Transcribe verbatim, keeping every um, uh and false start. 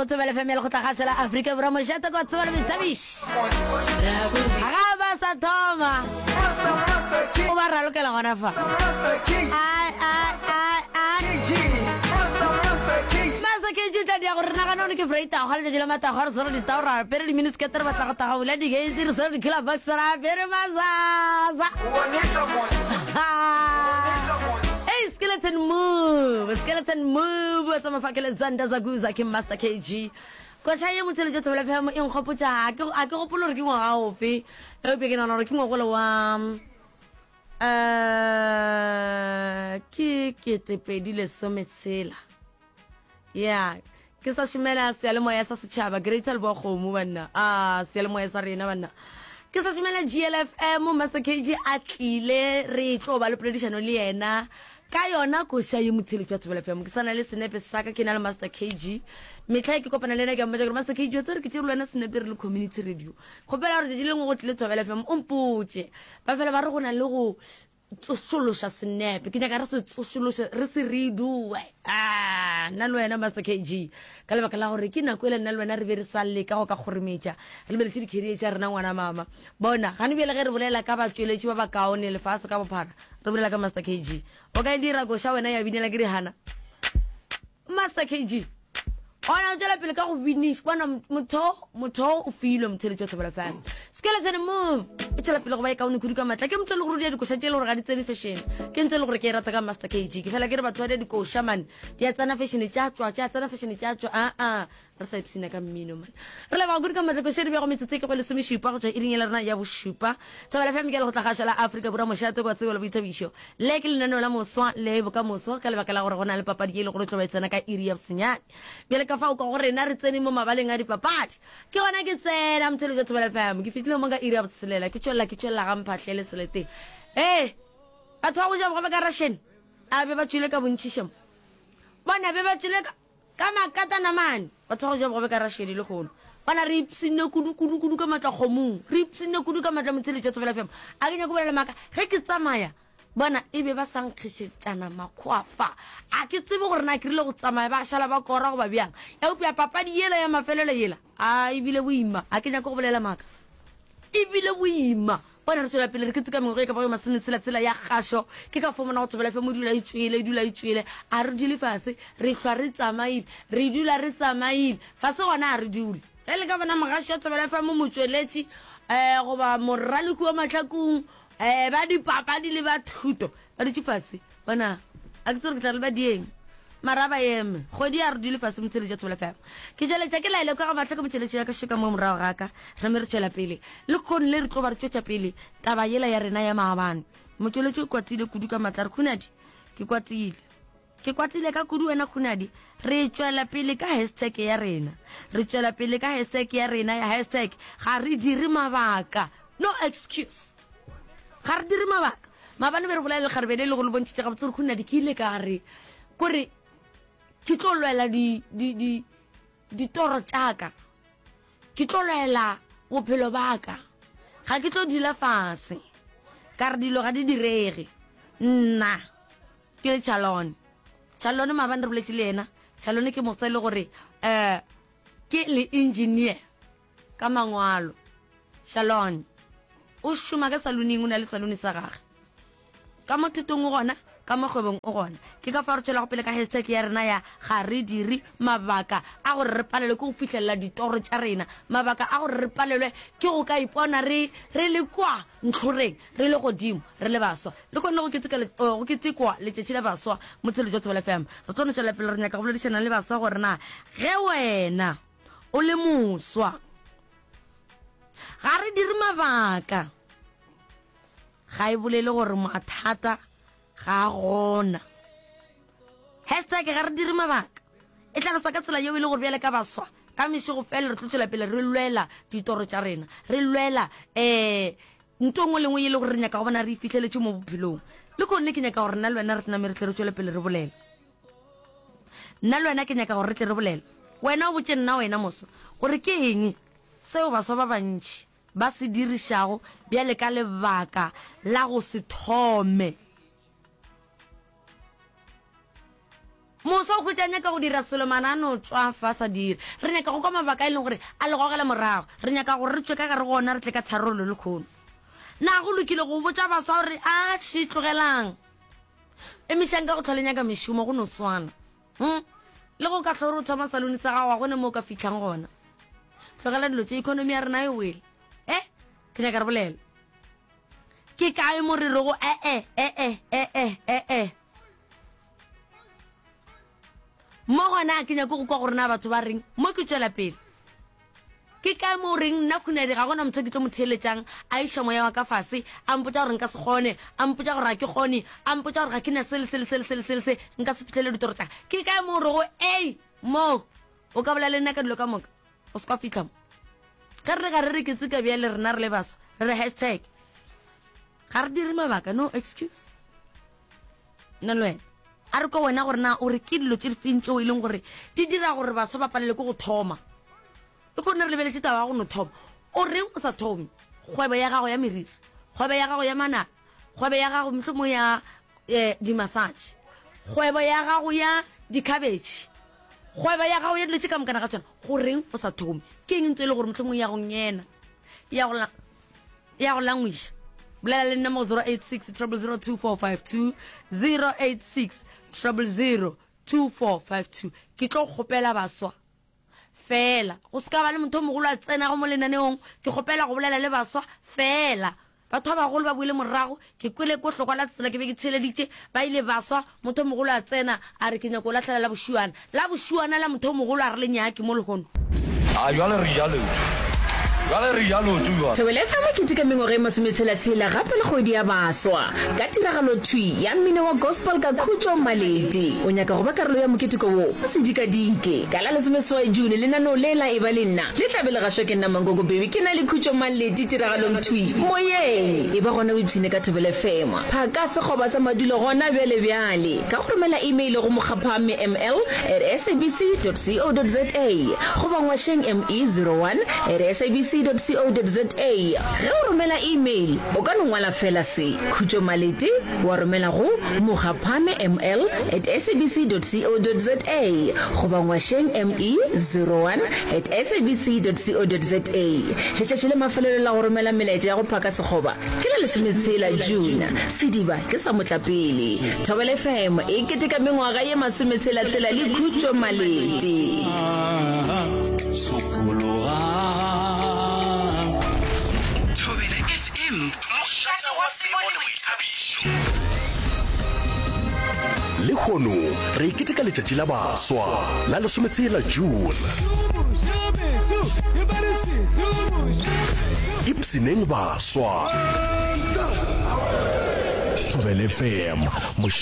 Go Thobela F M ya Lekgotlakgašo la Afrika Borwa, mošate kwa tsebo le boithabišo. Ga ba sa thoma, o ba ralokela gona fa. Ai, ai, ai, ai. Master K G o tla dia gore re nagane gore ke Freitago, ga letšatši la matago, re swere ditao, re apere di-miniskirt, re batla go taga bula di-gate, re swere di-cooler box, re apere masasa. Hey, skeleton move, skeleton move, wa tsamaya fa ke le Zanda Zaguza, ke Master K G. Koša ye motheletšo Thobela F M e nkgopotša, a ke, a ke gopole gore ke ngwaga ofe, eupša ke nagana gore ke ngwagola wa, eh, ke ketepedi lesometshela. Ya, ke sa šomela seyalemoya sa setšhaba, Greater Leboa Kgomo, banna. Ah, seyalemoya sa rena, banna. Ke sa šomela G L F M, Master K G a tlile, re tlo ba le poledišano le yena ka yona koša ye motheletšo wa Thobela F M. Ke sa na le senepe sa ka, ke na le Master K G. Mehla e ke kopana le yena ke a mmotša gore Master K G, wa tseba gore ke tšere le wena senepe re le community radio. Kgopela gore tšatši le lengwe go tlile Thobela F M, o mpotše. Ba fela ba re go na le go tsošološa senepe, ke nyaka re se tsošološe, re se redoe. Ah, nna le wena Master K G, ka lebaka la gore ke nako ele nna le wena re be re sa leka go ka kgorometša, re lebeletše di-career tša rena ngwana mama. Bona, gane bjale ge re bolela ka batšweletši ba bakaone lefase ka bophara, re bolela ka Master K G. O ka e dira koša wena ya binela ke dihana. Master K G, ona o tšwela pele ka go biniša. Bona, motho, motho o filwe motheletši wa Thobela F M. Skeleton move e tšwela pele go ba e kaone kudu ka matla. Ke motho e le gore o dia dikoša tše e le gore ga di tsene fashion. Ke ntho e le gore ke e rata ka Master K G. Ke fela ke re batho ba dia dikoša man, di a tsena fashion tša tšwa, tša tsena fashion tša tšwa. A a, re sa ipshina ka mmino man. Re leboga kudu ka matla koša e di bego metsotso e ke go lesomešupa go tšwa iring ya rena ya bošupa. Thobela F M ke ya Lekgotlakgašo la Afrika Borwa, mošate kwa tsebo le boithabišo. Le ke lenaneo la moswa le bokamoso ka lebaka la gore go na le papadi ye e le gore o tlo ba e tsena ka iri ya bosenyane. Bjale ka fao ka go rena re tsene mo mabaleng a dipapadi. Ke gona ke tsena motheletšo wa Thobela F M. Ke fihlile mo ka iri ya botshelela, ke tšwelela, ke tšwelela ga mphahlele seleteng. Ee, batho ba go ja bogobe ka Russian, a be ba tšwele ka bontši šemo. Bona be ba tšwele ka, ka makatana mane, batho ba go ja bogobe ka Russian le lehono. Bona re ipshinne kudu, kudu, kudu ka matla kgomong. Re ipshinne kudu ka matla motheletšo wa Thobela F M. A ke nyako bolela maaka, ge ke tsamaya, bona e be ba sa nkgišetšana makgowa fa. A ke tsebe gore na ke rile go tsamaya ba šala ba kora goba bjang. Eupša papadi yela ya mafelelo yela, a e bile boima. A ke nyako go bolela maaka. E bile boima. Bona re tšwela pele re keteka mengwaga e ka bago masometshela-tshela ya kgašo. Ke ka fao mona go Thobela F M o dula e tšwele, e dula e tšwele. A re dule fase, re hlwa re tsamaile, re dula re tsamaile. Fase gona a re dule. Ge le ka bona mogaši wa Thobela F M motšweletši, eh, goba moraloki wa mahlakong, eh, ba dipapadi le ba thuto, ba dutše fase. Bona, a ke tsebe gore ke tla re le ba dieng. Mara ba eme. Kgwedi ya re dule fase motheletši wa Thobela F M. Ke tšweletša ke laele kwa ga mahlo ke motšheletši ya ka šoka mo morago ga ka. Re me re tšwela pele. Le kgone le re tlo ba re tšwetša pele taba yela ya rena ya maabane. Motšweletši o kwatile kudu ka matla. Re Khunadi, ke kwatile. Ke kwatile ka kudu wena Khunadi. Re tšwela pele ka hashtag ya rena. Re tšwela pele ka hashtag ya rena ya hashtag ga re dire mabaka. No excuse. Ga re dire mabaka. Maabane be re bolela le kgarebe le le go le bontšhitše gabotse gore Khunadi ke ile ka re kore ke tlo lwela di, di, di, ditoro tša ka. Ke tlo lwela bophelo ba ka. Ga ke tlo dula fase. Ka re dilo ga di direge. Nna ke le Chalone. Chalone maabane re boletše le yena. Chalone ke moswa e le gore, eh, ke le engineer ka mangwalo. Chalone o šoma ka saloneng, o na le salone sa gagwe. Ka mo thutong o gona, ka mo kgwebong o gona. Ke ka fao re tšwelago pele ka hashtag ya rena ya ga re dire mabaka a gore re palelwe ke go fihlelela ditoro tša rena, mabaka a gore re palelwe ke go ka ipona re, re le kwa ntlhoreng, re le godimo, re le baswa. Le kgone go keteka le, oh, go ketekwa letšatši la baswa motheletši wa Thobela F M. Re tlo no tšwela pele re nyaka go boledišana le baswa gore na ge wena o le moswa ga re dire mabaka, ga e bolele gore mathata ga a gona. Hashtag ga re dire mabaka e tlhalosa ka tsela yeo e le gore bjale ka baswa ka mešego fela re tlo tšwela pele re lwela ditoro tša rena, re lwela, eh, ntho nngwe le nngwe e le gore re nyaka go bona re e fihleletše mo bophelong. Le kgonne ke nyaka gore nna le wena re tname re tle re tšwele pele re bolela. Nna le wena ke nyaka gore re tle re bolela. Wena o botše nna wena moswa gore ke eng seo baswa ba bantši ba se dirišago bjale ka lebaka la go se thome. Moswa o hwetša a nyaka go dira selo mara a no tšwafa a sa dire. Re nyaka go kwa mabaka a e leng gore a le gogela morago. Re nyaka gore re tšwe ka gare go ona re tle ka tharollo lehono. Na go lokile go botša baswa gore atšhe tlogelang, emišang ka go hlwa le nyaka mešomo go no swana? Hm? Le go ka hlwa o re o thoma salone sa gago ga go ne mo o ka fihlang gona. Tlogela dilo tše, economy ya rena e wele. Eh? Ke nyaka re bolele. Ke kae mo re rego e-e, e-e, e-e, e-e? Mo gona ga ke nyake go kwa gore na batho ba reng mo ke tšwela pele. Ke kae mo o reng nna Khunadi ga gona motho ke tlo mo theeletšang a iša moya wa ka fase, a mpotša gore nka se kgone, a mpotša gore ga ke kgone, a mpotša gore ga ke na se le se le se le se le se le se, nka se fihlele ditoro tša ka. Ke kae mo o rego ei mo o ka bolela le nna ka dilo ka moka o se kwa fihla mo. Ge re re ga re re ke tseka bjale rena re le baswa re re hashtag ga re dire mabaka no excuse. Nna le wena a re kwa wena gore na o re ke dilo tše difeng tšeo e leng gore di dira gore baswa ba palelwe ke go thoma. Le kgone re lebeletše taba ya go no thoma. O reng o sa thome kgwebo ya gago ya meriri, kgwebo ya gago ya manala, kgwebo ya gago mohlomong ya eh, di-massage, kgwebo ya gago ya di-cabbage, kgwebo ya gago ya dilo tše ka mokana ga tšona. Go reng o sa thome? Ke eng ntse e le gore mohlomong ya go ngena ya go ya go langwiša? Bolela le nna mo go zero eight six triple zero two four five two, zero eight six triple zero two four five two. Ke tlo kgopela baswa fela, go se ka ba le motho o mogolo a tsenago mo lenaneong. Ke kgopela go bolela le baswa fela. Batho ba bagolo ba boile morago. Ke kwele ko hlokwa la tsela ke be ke theeleditše, ba ile baswa, motho o mogolo a tsena a re ke nyako lahlela la bošuana. La bošuana la motho o mogolo a re le nyake mo lehono. A jwale re ja leoto. Jwale re ja leoto jwale. Thobela F M e keteka mengwaga e masometshela-tshela gape le kgwedi ya baswa ka tiragalo thwi ya mmino wa gospel ka Khutšo Malete. O nyaka go ba karolo ya moketeko wo? O se dikadike. Ka la lesomeseswai June lenaneo le la Eba le Nna le tla be le gašwa ke nna Mankoko Baby ke na le Khutšo Malete tiragalong thwi moyeng. Eba gona o ipshine ka Thobela F M. Phaka sekgoba sa madulo gona bjale bjale ka go romela email go mokgaphame ml at sabc dot co dot za goba ngwašeng me zero one at sabc dot co dot za. Ge o romela email o ka no ngwala fela se, Khutšo Malete, wa romela go mokgaphame ml at sabc dot co dot za goba ngwašeng me zero one at sabc dot co dot za. Letšatši la mafelelo la go romela melaetša ya go phaka sekgoba ke la lesometshela June. Sediba ke sa motlapele. Thobela F M e keteka mengwaga ye masometshela-tshela le Khutšo Malete. Thobela F M, mošate wa tsebo le boithabišo. Lehono re keteka letšatši la baswa la lesometshela June. Ipshineng baswa. Thobela F M, mošate